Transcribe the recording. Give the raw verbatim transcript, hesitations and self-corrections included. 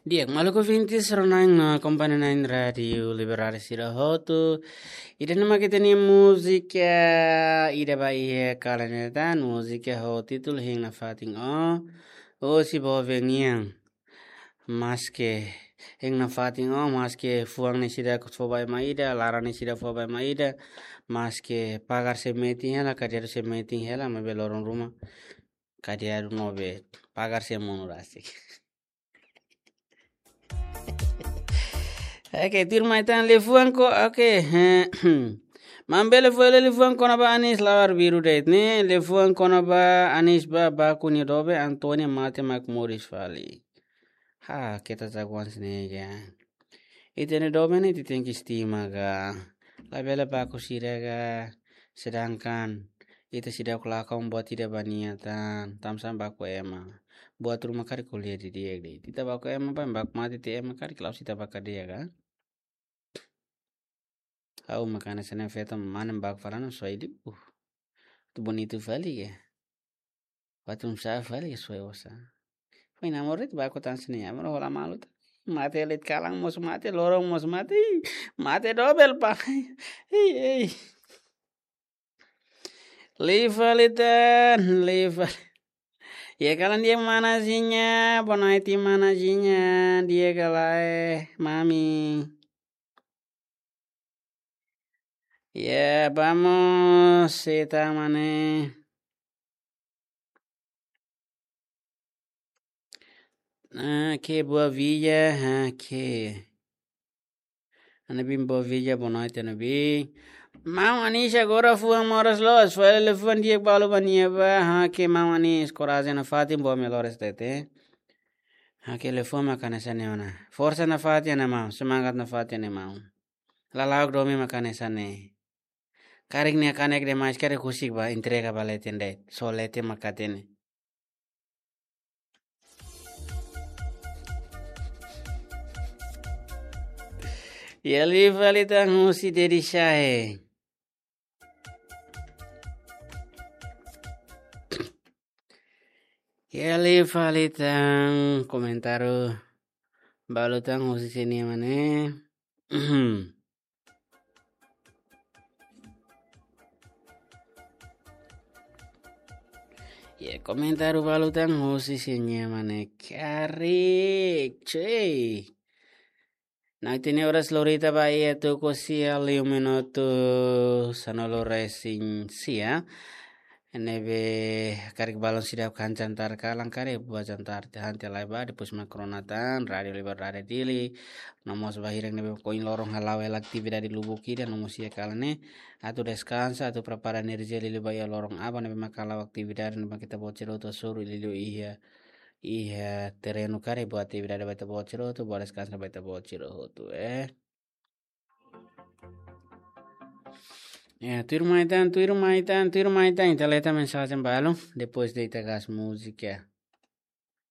Di'ak, maluk ouvintes, rona-na'in no akompaña-na'in Rádiu Liberdade sira hotu. Ida-ne'e mak ita-nia múzika, ida ba iha kalan ida tan, múzika ho títulu Hein Nafatin Ó, Ó Si Bove Nian. Maske hein nafatin ó, maske fuan ne'e seidauk fó ba ema ida, laran ne'e seidauk fó ba ema ida, maske pagar sei metin hela, kadi'adu sei metin hela, maibé loron ruma kadi'adu no be pagar sei monu rasik. Oke, tuirmai tan liafuan ko, oke. Maun bele fó hela liafuan kona-ba Anis, la'ós biru de'it ne'e, liafuan kona-ba Anis ba, baku nia doben Antónia mate mak moris fali. Ha, keta jagoan sini ga. Ita-nia doben ne'e ita tenke estima ga. Labele baku sira ga. Sedangkan ita seidauk lakon buat ida ba nia tan, tansá baku ema. Buat ruma karik ko'alia didi'ak de'it. Ita baku ema ba, baku mate tiha ema karik la'ós ita ba kadeia ga. Ha'u mak hanesan ne'e feto mane baku falando soe di. Uh. Tu bonitu fali ga. Patung sa fali ga soe osa. Foin amor de'it baku tan sini amor hola malu ta. Mate leet kalan mós mate, loron mós mate. Mate dobel pa. Ei, ei. Liu fali tan, liu fali. Ya kalan di'ak mana Zinha, boa noite mana Zinha, di'ak ka lae, mami. Ya, vamos, se ta mane. Ah, ke boa villa, ah, ke. Ana bin boa villa, boa noite, ana bin. Maun Anis agora fuan moras loos, fó hela liafuan di'ak balu ba nia ba, ah, ke maun Anis, korajen nafatin boa melhores tete. Ah, ke liafuan mak hanesan ne'e ona. Forsa nafatin ne'e maun, semangat nafatin ne'e maun. Lala'ok domin mak hanesan ne'e. Karik nia kanek demais karik husik ba entrega ba leten de'it. So leten mak hatene. Ya liu fali tan husi Dedi Shae. Ya liu fali tan komentáriu balu tan husi sini mane. Ya, komentáriu balu tan husi sini mane karik, cuy. Na'in-tolu oras lorita ba iha tuku sia liu minutu sanulu-resin-sia. Ne'ebé karik balun seidauk han jantar kalan karik buat jantar te han te lai ba depois mak rona tan Rádiu Liberdade Dili. No mós ba hirak ne'ebé ohin loron hala'o hela atividade lubuk ida no mós iha kalan ne'e. Atu deskansa, atu prepara enerjia liuliu ba iha loron aban ne'ebé mak hala'o atividade ne'ebé ita-boot sira hotu hasoru liuliu iha, iha terrenu karik buat atividade ba ita-boot sira hotu, buat deskansa ba ita-boot sira hotu, eh. Ya, tuirmai tan, tuirmai tan, tuirmai tan. Ita leta mensajen balu, depois de ita gas múzika.